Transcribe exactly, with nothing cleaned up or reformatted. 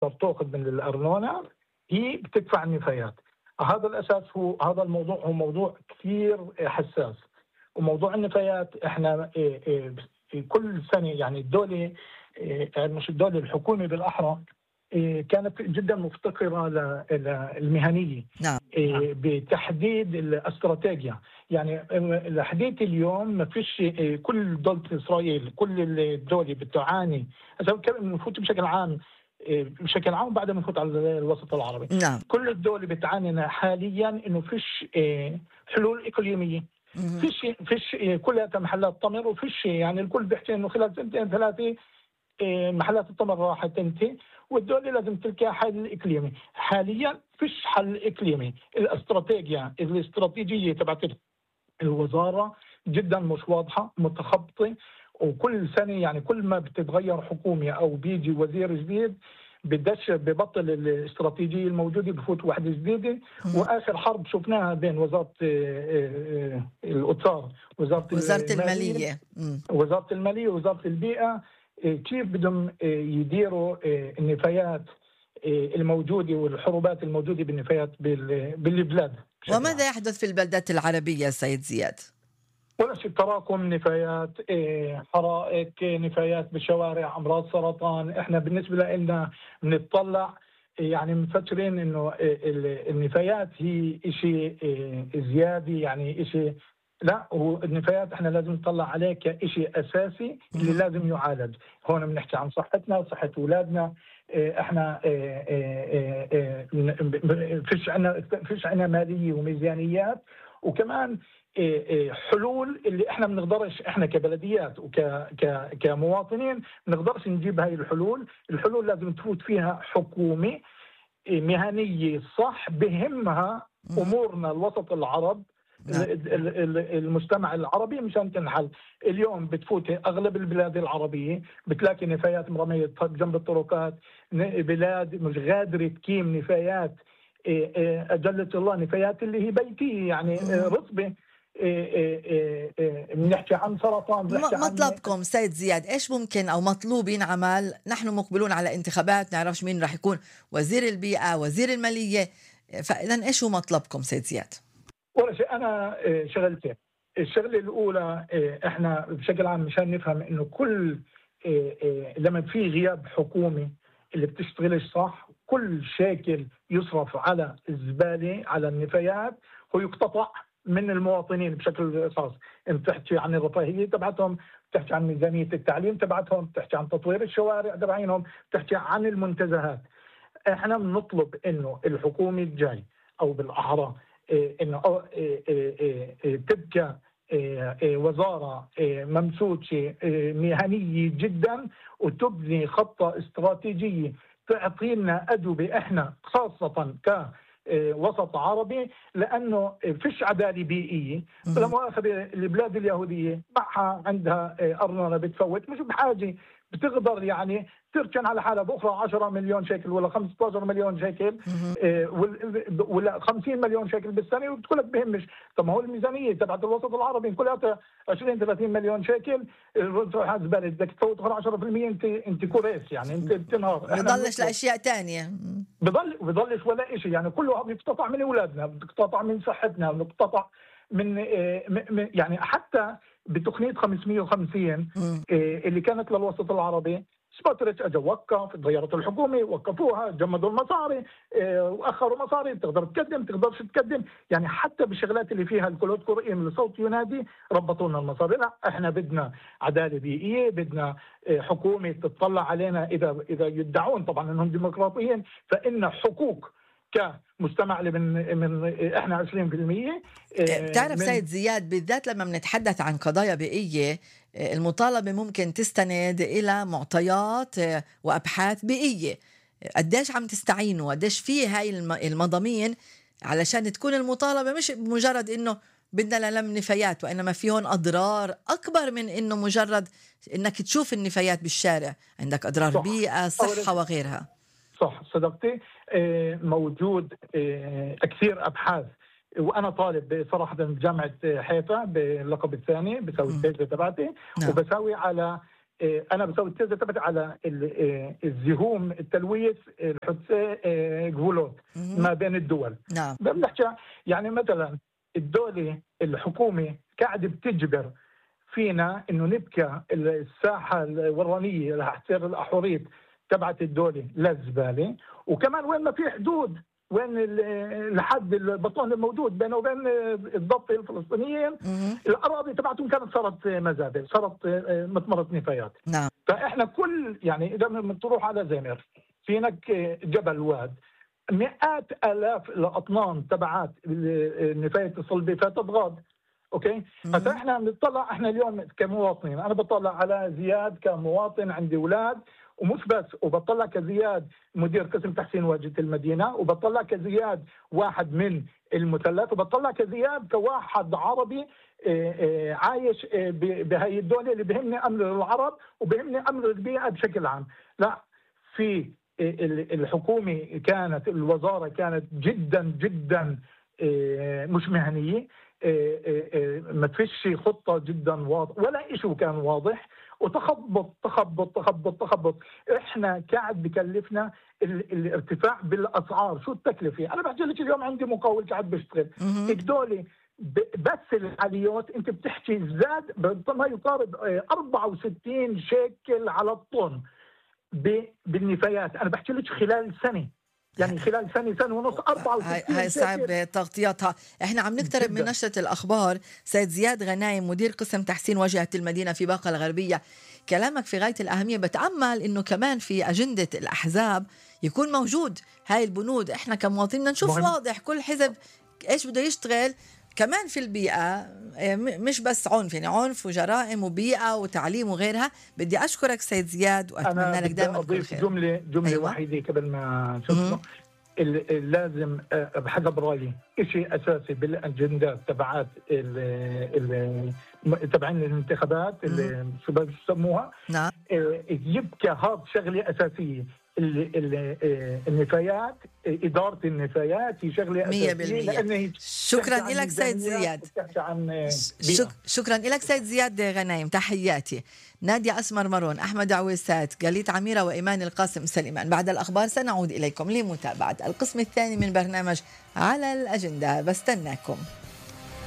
تأخذ من الأرنونة هي بتدفع النفايات. هذا الأساس هو هذا الموضوع هو موضوع كثير حساس. وموضوع النفايات احنا إيه إيه كل سنة يعني الدولة إيه مش الدولة الحكومة بالأحرى إيه كانت جدا مفتقرة للمهنية نعم. إيه بتحديد الاستراتيجية. يعني لحديت اليوم ما فيش إيه كل دولة إسرائيل كل الدولة بتعاني نفوت بشكل عام بشكل عام بعد ما نفوت على الوسط العربي. نعم. كل الدول بتعاني حاليا انه فيش حلول اقليميه، فيش فيش كلها محلات تمر وفيش يعني الكل بيحكي انه خلال سنتين ثلاثه محلات التمر راح تنتهي والدولة لازم تلقى حل اقليمي. حاليا فيش حل اقليمي. الاستراتيجيه الاستراتيجيه تبعت الوزاره جدا مش واضحه متخبطه، وكل سنه يعني كل ما بتتغير حكومه او بيجي وزير جديد بدش ببطل الاستراتيجيه الموجوده بفوت واحده جديده. واخر حرب شفناها بين وزاره الاوتار وزاره وزاره الماليه وزاره الماليه ووزاره البيئه كيف بدهم يديروا النفايات الموجوده والحروبات الموجوده بالنفايات بالبلاد. وماذا يحدث في البلدات العربيه سيد زياد؟ ولا شيء، تراكم نفايات، حرائق، نفايات بالشوارع، امراض سرطان. احنا بالنسبه لنا بنطلع يعني مفكرين انه النفايات هي شيء زياده، يعني شيء لا، هو النفايات احنا لازم نطلع عليه كشيء اساسي اللي لازم يعالج. هون بنحكي عن صحتنا، صحه اولادنا. احنا فيش عنا فيش عنا ماليه وميزانيات، وكمان حلول اللي احنا بنقدرش احنا كبلديات وك كمواطنين بنقدرش نجيب هاي الحلول. الحلول لازم تفوت فيها حكومه مهنيه صح بهمها امورنا الوسط العرب المجتمع العربي مشان تنحل. اليوم بتفوت اغلب البلاد العربيه بتلاقي نفايات مرميه جنب الطرقات، بلاد مش قادره تقيم نفايات اجلت الله نفايات اللي هي بيتيه يعني رطبه. بنحكي عن سرطان. مطلبكم عن... سيد زياد ايش ممكن او مطلوب ينعمل؟ نحن مقبلون على انتخابات، نعرفش مين راح يكون وزير البيئه وزير الماليه، فاذا ايش هو مطلبكم سيد زياد؟ ولا شيء، انا شغلتين. الشغله الاولى احنا بشكل عام مشان نفهم انه كل لما في غياب حكومي اللي بتشتغلش صح كل شيكل يصرف على الزباله على النفايات هو يقتطع من المواطنين بشكل خاص. انت بتحكي عن الرفاهيه تبعتهم، بتحكي عن ميزانيه التعليم تبعتهم، بتحكي عن تطوير الشوارع تبعينهم، بتحكي عن المنتزهات. احنا بنطلب انه الحكومه الجاي او بالاحرى انه تبقى وزاره ممسوكه مهنيه جدا وتبني خطه استراتيجيه تعطي لنا ادوبه احنا خاصه ك وسط عربي، لانه فيش عداله بيئيه. لا مؤاخذه البلاد اليهوديه معها عندها ارنونه بتفوت، مش بحاجه بتقدر يعني تركن على حالها باخرى عشرة مليون شيكل ولا خمسة عشر مليون شيكل ولا خمسين مليون شيكل بالسنه وبتقول لك بهمش. طب ما هو الميزانيه تبعت الوسط العربي كلها عشرين ثلاثين مليون شيكل تروح على الزباله، بدك تفوت عشرة بالمئة انت انت كوريس يعني انت بتنهار. بضلش لاشياء ثانيه، بضل بضلش ولا شيء يعني كله بيقتطع من اولادنا، بيقتطع من صحتنا، بيقتطع من يعني حتى بتقنيه خمسمئة وخمسين اللي كانت للوسط العربي سبوتريتش اجى وقف، تغيرت الحكومه وقفوها، جمدوا المصاري واخروا مصاري، تقدر تقدم تقدرش تقدم يعني حتى بالشغلات اللي فيها الكلود قرئين لصوت ينادي ربطوا لنا المصاري. لا احنا بدنا عداله بيئيه، بدنا حكومه تطلع علينا اذا اذا يدعون طبعا انهم ديمقراطيين فان حقوق كمجتمع اللي من من احنا عشرين بالمئة. بتعرف سيد زياد بالذات لما بنتحدث عن قضايا بيئيه المطالبه ممكن تستند الى معطيات وابحاث بيئيه. قديش عم تستعينوا؟ قديش في هاي المضامين علشان تكون المطالبه مش مجرد انه بدنا للم نفايات، وانما في هون اضرار اكبر من انه مجرد انك تشوف النفايات بالشارع، عندك اضرار صح. بيئه، صحه وغيرها. صح صدقتي. موجود كثير ابحاث، وانا طالب صراحه بجامعه حيفا باللقب الثاني بسوي التيزه تبعتي وبسوي على انا بسوي التيزه تبعتي على الزهوم التلويث الحدثي جفولوت ما بين الدول. نعم. بنحكي يعني مثلا الدوله الحكومه قاعده بتجبر فينا انه نبكى الساحه الورانيه رح تصير الاحوريت تبعت الدوله للزباله، وكمان وين ما في حدود، وين الحد البطون الموجود بينه وبين الضفه الفلسطينيين الاراضي تبعتهم كانت صارت مزابل، صارت مطمره نفايات. نعم. فاحنا كل يعني اذا تروح على زمر في هناك جبل واد مئات الاف الاطنان تبعات النفايه الصلبه فتضغط. اوكي. فاحنا بنطلع احنا اليوم كمواطنين، انا بطلع على زياد كمواطن عندي اولاد ومش بس، وبطلع كزياد مدير قسم تحسين واجهة المدينة، وبطلع كزياد واحد من المثلث، وبطلع كزياد كواحد عربي عايش بهي الدولة اللي بهمني أمر العرب وبهمني أمر البيئة بشكل عام. لا، في الحكومة كانت الوزارة كانت جدا جدا مش مهنية، ما فيش خطة جدا واضح ولا إشي كان واضح، وتخبط تخبط تخبط تخبط. احنا قاعد بكلفنا الارتفاع بالاسعار. شو التكلفه؟ انا بحكي لك اليوم عندي مقاول قاعد بيشتغل الدولة بس العاليات انت بتحكي زاد ما يقارب أربعة وستين شيكل على الطن بالنفايات. انا بحكي لك خلال سنه، يعني خلال سنة سنة ونص أربعة وستين. هاي صعب تغطيتها. احنا عم نقترب من نشرة الأخبار. سيد زياد غنايم مدير قسم تحسين واجهة المدينة في باقة الغربية، كلامك في غاية الأهمية. بتأمل إنه كمان في أجندة الأحزاب يكون موجود هاي البنود. احنا كمواطنين نشوف مهم. واضح كل حزب ايش بده يشتغل كمان في البيئة، مش بس عنف، يعني عنف وجرائم وبيئة وتعليم وغيرها. بدي أشكرك سيد زياد وأتمنى لك دائما كل خير. جملة جملة أيوة. وحيدة قبل ما شفنا لازم بحسب رأيي شيء أساسي بالأجندات تبعات تبعين الانتخابات اللي شو بسموها. نعم. يبقى هذا شغلة أساسية. النفايات، إدارة النفايات هي شغلة أساسية. شكرا لك سيد زياد. شك... شكرا لك سيد زياد غنايم، تحياتي. نادية أسمر مرون، أحمد عويسات، جليت عميرة، وإيمان القاسم سليمان. بعد الأخبار سنعود إليكم لمتابعة القسم الثاني من برنامج على الأجندة. بستناكم.